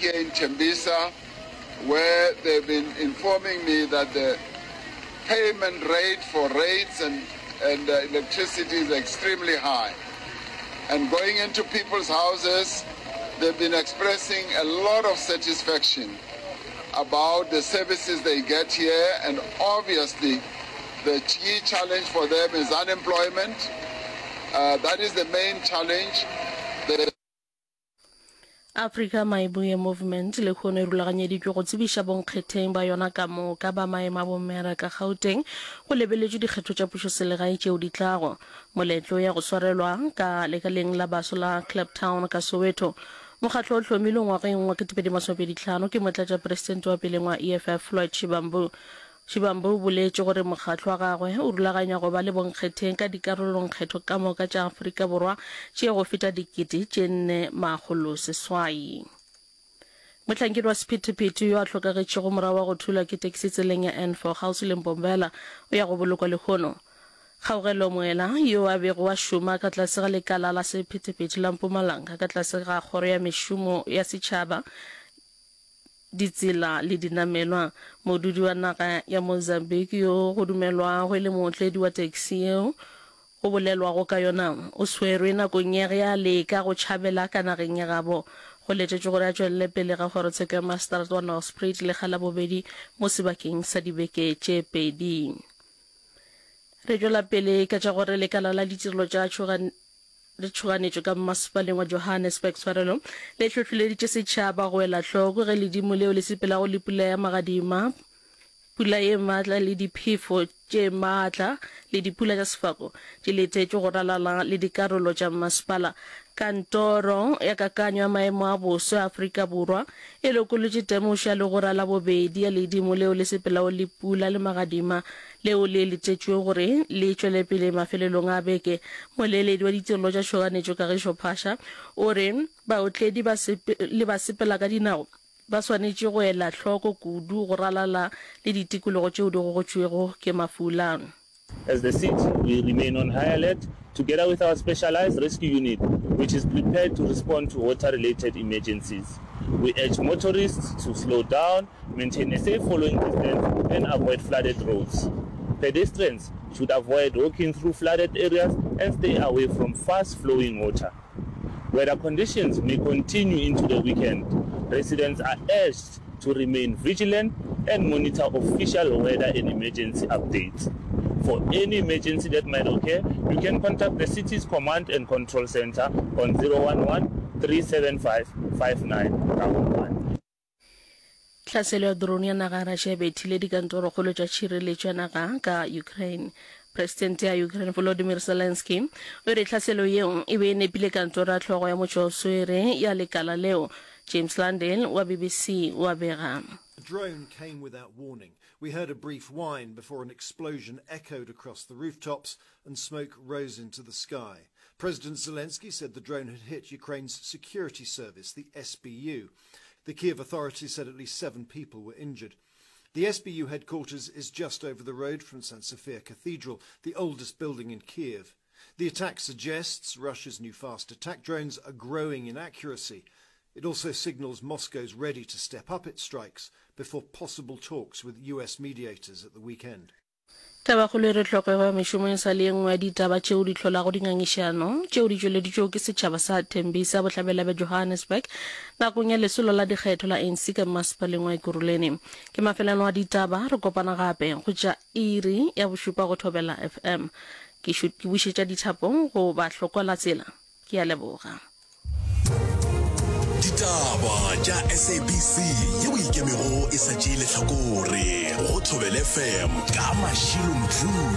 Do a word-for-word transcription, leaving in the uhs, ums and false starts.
here in Tembisa, where they've been informing me that the payment rate for rates and, and uh, electricity is extremely high. And going into people's houses, they've been expressing a lot of satisfaction about the services they get here. And obviously, the key challenge for them is unemployment. Uh, that is the main challenge. The Africa Mayibuye Movement lehono e rulaganyeditšwe go tsebiša bonkgetheng ba yona ka moka ba maemo a bomera ka Gauteng go lebeletšwe dikgetho tša pušoselegae tšeo di tlago. Moletlo ya go swarelwa ka lekaleng la baso la Kliptown ka Soweto. Mokgatlo o hlomilwe ngwageng wa ketepedi masomepedi hlano ke motlatšapresidente wa peleng wa E F F Floyd Shivambu. Shivambu o boletše gore mokgatlo wa gagwe o rulaganya go ba le bonkgetheng ka dikarolongkgetho ka moka tša Afrika Borwa tše go feta dikete tše nne makgolo seswai. Mohlankedi wa sephethephethe yo a hlokagetšego morago wa go thulwa ke taxi tseleng ya N four kgauswi le Mbombela o ya go bolokwa lehono. Kgaugelo Moela yo a bego a šoma ka tlase ga lekala la sephethephethe la Mpumalanga ka tlase ga kgoro ya mešomo ya setšhaba, ditsela le dinamelwa, modudi wa naga ya Mozambique yo go dumelwago e le mootledi wa taxi yeo go bolelwago ka yona o swerwe nakong ya ge a leka go tšhabela ka nageng ya gabo. Go letetšwe gore a tšwelele pele ga kgorotsheko ya maseterata wa Nelspruit lekga la bobedi mo sebakeng sa dibeke tše pedi. Re tšwela pele ka tša gore lekala la ditirelo tša le tšhoganetšo ka mmasepaleng wa Johannesburg tshwarelo le hlohleleditše setšhaba go ela hloko ge ledimo leo le sepelago le pula ya magadima, pula ye maatla le diphefo tše maatla le dipula tša sefako di letetšwe go ralala le dikarolo tša mmasepala. Kantoro ya kakanyo ya maemo a boso ya Afrika Borwa e lokolotše temošo ya legora la bobedi ya ledimo leo le sepelago le pula le magadima leo le letetšwe gore le tšwele pele mafelelong a beke. Moeledi wa ditirelo tša tšhoganetšo Kagišo Phasha o re baotledi ba le basepela ka dinao ba swanetše go ela hloko kudu go ralala le ditikologo tšeo di gogotšwego ke mafula. As the city, we remain on high alert together with our specialized rescue unit, which is prepared to respond to water-related emergencies. We urge motorists to slow down, maintain a safe following distance, and avoid flooded roads. Pedestrians should avoid walking through flooded areas and stay away from fast-flowing water. Weather conditions may continue into the weekend. Residents are urged to remain vigilant and monitor official weather and emergency updates. For any emergency that might occur, you can contact the city's command and control center on zero one one three seven five five nine one one. Tlhaselo ya drone ya naga ya Russia e bethile dikantorokgolo tša tšhireletšo ya naga ka Ukraine. Presidente ya Ukraine Volodymyr Zelensky o re tlhaselo yeo e be e nepile kantoro ya hlogo ya motšwaoswere ya lekala leo. James Landale wa B B C wa bega. The drone came without warning. We heard a brief whine before an explosion echoed across the rooftops and smoke rose into the sky. President Zelensky said the drone had hit Ukraine's security service, the S B U. The Kiev authorities said at least seven people were injured. The S B U headquarters is just over the road from Saint Sophia Cathedral, the oldest building in Kiev. The attack suggests Russia's new fast attack drones are growing in accuracy. It also signals Moscow's ready to step up its strikes before possible talks with U S mediators at the weekend. Tabakgolo e re tlhokego ya mešomo e sa le ye nngwe ya ditaba tšeo di hlolago dingangišano tšeo di tšweleditšwego ke setšhaba sa Tembisa bohlabela bja Johannesburg nakong ya lesolo la dikgetho la A N C ka mmasepaleng wa Ekurhuleni. Ke mafelelo a ditaba, re kopana gape go tša iri ya bošupa go Thobela F M. Ke ke bušetša dithapong go bahlokwa la tsela. Ke a leboga. Ditaba tša S A B C yeo ikemego e sa tšee lehlakore go Thobela F M ka Mashilo Mdluli.